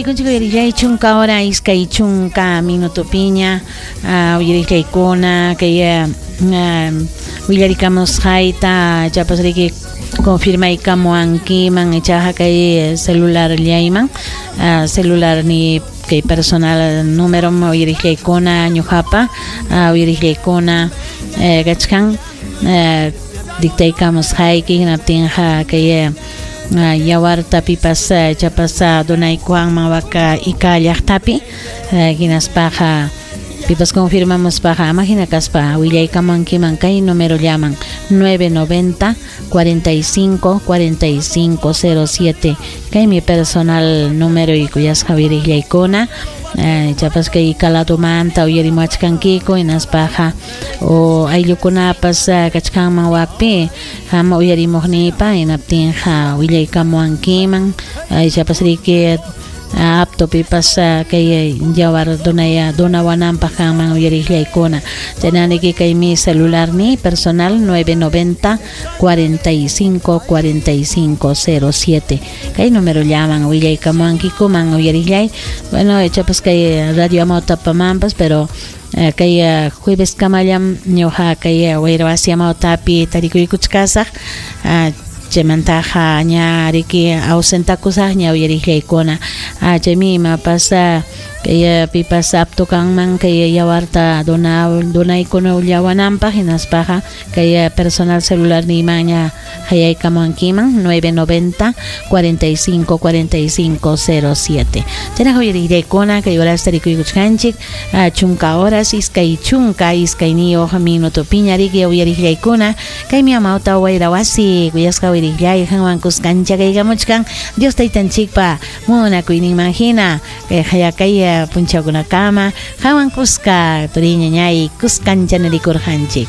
Tarikunchik uyarillay chunka hora 20 minutopiña uyarillaykuna kay willarikamusqayta chapas riki confirmaykamuwankiman ichaqa kay celularllayman celular ni kay personal número uyarillaykuna ñuqapa uyarillaykuna kachkan dictaykamusqayki hinaptinqa kay yawarta pipas chapas donaykuwanman waka Ica llaqtapi hinaspaqa pipas confirmamuspaqa ama hina kaspa willaykamuwankiman kay numerollaman 990 45 45 07 kaymi personal número kuyasqa uyariqllaykuna chapas kay Ica ladomanta uyarimuwachkankiku hinaspaqa o ayllukunapas kachkanman wakpi hama uyarimuqniypa hinaptinqa willaykamuwankiman chapas riki apto pipas kay yawar donawananpaq kanman uyariqllaykuna chaynaniki kaymi celular ni personal 990 45 45 07 kay número llaman willaykamuwankikuman uyariqllay. Bueno, chapas kay radio Amawtapamanpas, pero kay jueves kamallam ñuqa kay wayra wasi Amawtapi tarikuykuchkasaq, chaymantaqa ña riki ausentakusaqña uyariqllaykuna. Chaymi imapas kay pipas apto kanman kay yawarta donaykunallawananpaq hinaspaqa kay personal celular niymanña hayaykamuwankiman 990 45 45 07. Chaynaqa uyariqllaykuna kay horas tarikuykuchkanchik chunka horas 22 minutopiña riki uyariqllaykuna kaymi Amawta wayra wasi kuyasqa uyariqllay qanwan kuskancha kaykamuchkan Dios taytanchikpa munakuyninman hina kay hayakay punchawkunakama qanwan kuska turiñañay kuskancha nirikurqanchik.